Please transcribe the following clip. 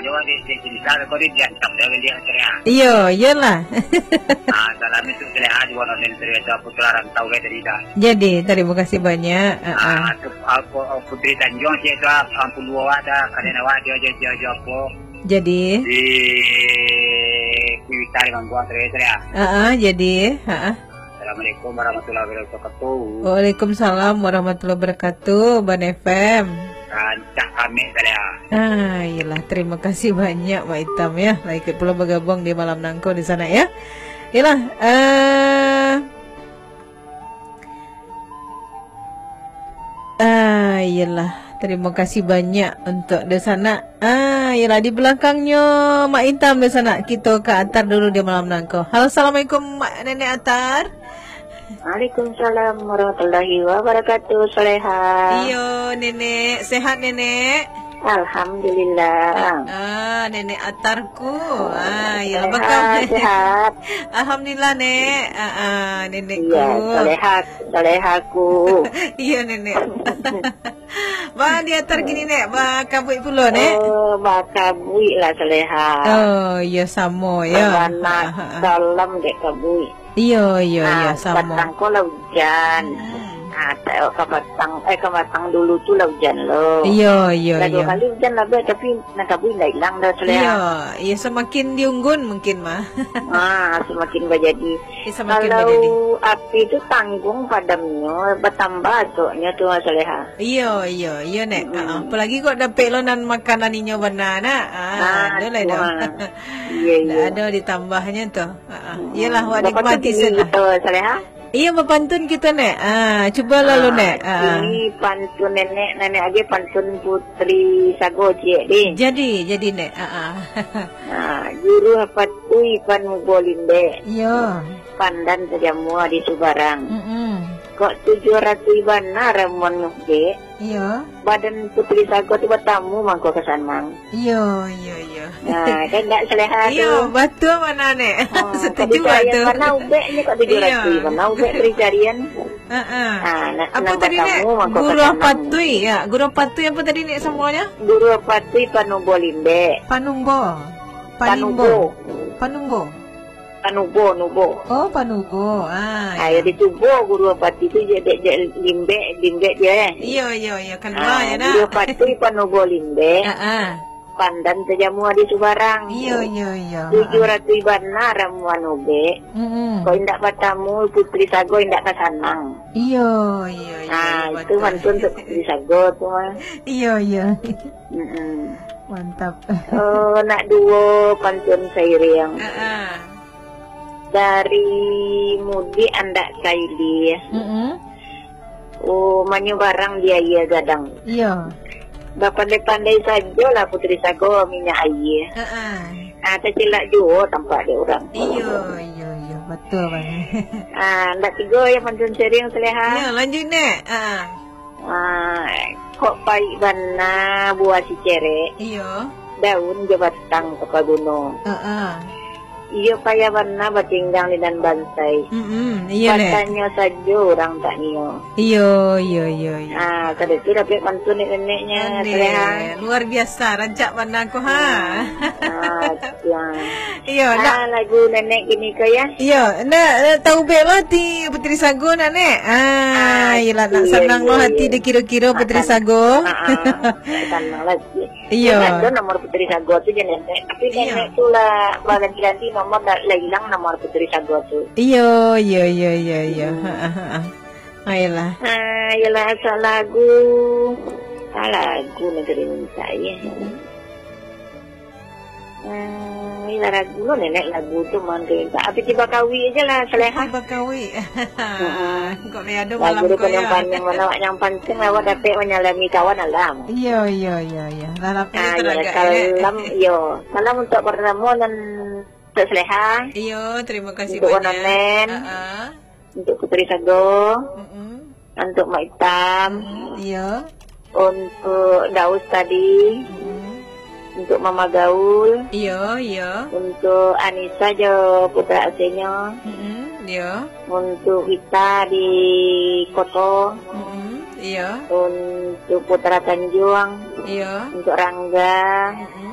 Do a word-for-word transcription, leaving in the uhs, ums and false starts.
Yo, di, di, di, di, kau di, diantam dah, dia, dia. Iyo, iyolah. Ah, salam itu Saleha di Wononen, Saleha itu putra rantau, kayak tadi dah. Jadi, terima kasih banyak. Ah, Ah, ah. tu, apa, Putri Tanjung, sih itu, ah, ampun dua awak dah, kalian awak, dia, dia, dia, dia, apa? Jadi? Di Kuitari Mangguang, Saleha, Saleha. Ah, ah, jadi, ah, ah. Assalamualaikum warahmatullahi wabarakatuh. Waalaikumsalam warahmatullahi wabarakatuh, Ban F M. Rancak kami, Saleha. Ah, iyalah, terima kasih banyak, Mak Itam, ya. Lah ikut pulo bergabung di malam nangko di sana, ya. Iyalah, eh, ah, iyalah, terima kasih banyak untuk di sana. Ah, iyalah, di belakangnya Mak Itam di sana. Kita ka atar dulu di malam nangko. Halo, assalamualaikum, Mak Nenek Atar. Waalaikumsalam warahmatullahi wabarakatuh, Saleha. Iyo, Nenek. Sehat, Nenek? Alhamdulillah. Ah, Nenek Atarku. Ah, iyalah, Saleha, bakal. Sehat. Alhamdulillah, Nek. Ah, ah, Nenekku. Iya, Saleha, Salehaku. Iya, Nenek. Ba, di Atar kini, Nek. Ba, kabuik pulo, Nek. Oh, ba, kabuik lah, Saleha. Oh, iya, samo, ya. Bana, ah, ah, ah, salam dek kabuik. Iyo, iyo, iyo, samo. Patang ko lah ujan. Hmm. Ah, ta-, ka patang, eh, ka patang dulu tu lah ujan lo. Iyo, iyo, iyo. Lah dua kali ujan lah, Beh, tapi nan kabuik indak ilang doh, Saleha. Iyo, iyo, samakin diunggun mungkin mah. Ah, samakin bajadi. Iyo, samakin bajadi. Kalau api tu tangguang padamnyo, batambah asoknyo tu, Saleha. Iyo, iyo, iyo, Nek. Mm-mm. Ah, apalagi kok dapek lo nan makanan inyo bana, nak. Ah, ah, ado lah, ado. Iyo, iyo. Ado ditambahnyo tu. Ha, ha. Iyalah, awak nikmati sen lah. Bapantun kini kito, Saleha? Iyo, bapantun kito, Nek. Ah, cuba lalu, Nek. Ah, kini pantun nenek, nenek aja pantun Putri Sago, ciek, deh. Jadi, jadi, Nek. Ah, ah. Ah, Guru Apatui Panubo Limbek. Iyo. Pandan tajamua di subarang. Mm-mm. Kok tujuah ratuih bana ramuan ngubek? Iyo. Badan Putri Sago tu batamu mangko ka sanang. Iyo, iyo, iyo. Nah, kan ndak Saleha tu. Iyo, batua bana, Nek. Ah, setuju batua. Bana ubek ni kok tujuah ratuih. Iyo. Bana ubek dicarian. Ha, ha. Ah, nak, apa tadi, Nek? Guru Apatui, ya. Guru Apatui apa tadi, Nek, samonyo? Guru Apatui Panubo Limbek. Panumbo. Panimbo. Panubo. Panumbo. Panubo, nubo. Oh, panubo. Ah, ah, iyo. Yo ditubo Guru Apatui tu, je, dek, dek limbek, limbek je, eh. Iyo, iyo, iyo. Kalua je, nah. Guru Apatui Panubo Limbek. Ah, ah. Pandan tajamua di subarang. Iyo, iyo, iyo. Tujuah ratuih bana ramuan ubek. Mm-mm. Kok indak batamu Putri Sago indak ka sanang. Iyo, iyo, iyo. Ah, iyo, itu batua. Pantun untuk Putri Sago tu mah. Iyo, iyo. Mm-mm. Mantap. Oh, nak duo pantun sairing. Ah, ah. Dari Mudik Andak Kaili. Mm-mm. Oh, manyubarang di aia gadang. Iyo. Bapandai-pandai sajolah Putri Sago minyak aia. Ha, ah. Ah, tacilak juo tampak dek urang. Iyo, iyo, iyo. Batua bana. Ah, ndak tigo yo pantun sairing, Saleha. Iyo, lanjuik, Nek. Ah. Ah, kok paik bana buah cicerek. Iyo. Daun jo batang tapaguno. Ha, ah. Iyo payah bana batinggang di nan bantai. Mm-mm, iyo, Nek. Batanyo sajo urang tak nio. Iyo, iyo, iyo, iyo. Ah, kada tu dapek pantun neneknyo, Saleha. Luar biasa, rancak bana ko, ha. Ah, ah, tuan. Iyo, ah, nak lagu nenek kini ko, ya? Iyo, nak, nak tahu bek lo hati Putri Sago, nak, Nek? Ah, ah, iyolah, nak sanang lo hati dikiro-kiro Putri Sago. Ah, ah, nak sanang lo hati. Iyo. Jan ado nomor Putri Sago tu, jan nenek. Tapi nenek tu lah baganti-ganti nomor, lah, lah ilang nomor Putri Sago tu. Iyo, iyo, iyo, iyo, iyo. Hmm. Ha, ha, ha. Ayolah. Ah, iyolah, asal lagu. Ah, lagu nan ka diminta, ya. Hmm, iyolah lagu lo, nenek, lagu tu mah nan ka diminta. Api tiba kawi aja lah, Saleha. Tiba kawi. Heeh. Kok ni ado malam ko, ya? Lagu tu panyampanjang, mana awak nyampanjang, awak dapek manyalami kawan alam. Iyo, iyo, iyo, iyo. Lah, lah, ah, iyo, teragak, ya. Salam, iyo. Salam untuk pertama nan untuk Saleha. Iyo, terima kasih banyak. Untuk Wononen. Ha, ah. Untuk Putri Sago. Mm-mm. Untuk Mak Itam. Mm-mm, iyo. Untuk Daus tadi. Mm-mm. Untuk Mama Gaul. Iyo, iyo. Untuk Anissa jo putra asinyo. Mm-mm, iyo. Untuk Rita di Koto. Mm-mm, iyo. Untuk Putra Tanjuang. Iyo. Untuk Rangga. Mm-mm.